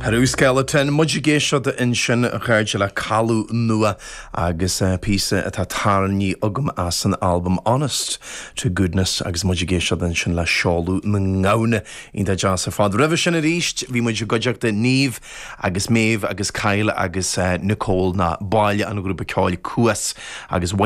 Peru Skeleton, muid ag éisteacht ansin a chairde le Caladh Nua agus píosa atá tarraingthe agam as an albam Honest to Goodness agus muid ag éisteacht ansin le Seoladh na nGamhna. Iontach deas ar fad. Roimhe sin arís bhí muid i gcuideachta Niamh agus Méabh agus Kyle agus Nicole ná baill an ghrúpa ceoil Cuas agus mhothaigh.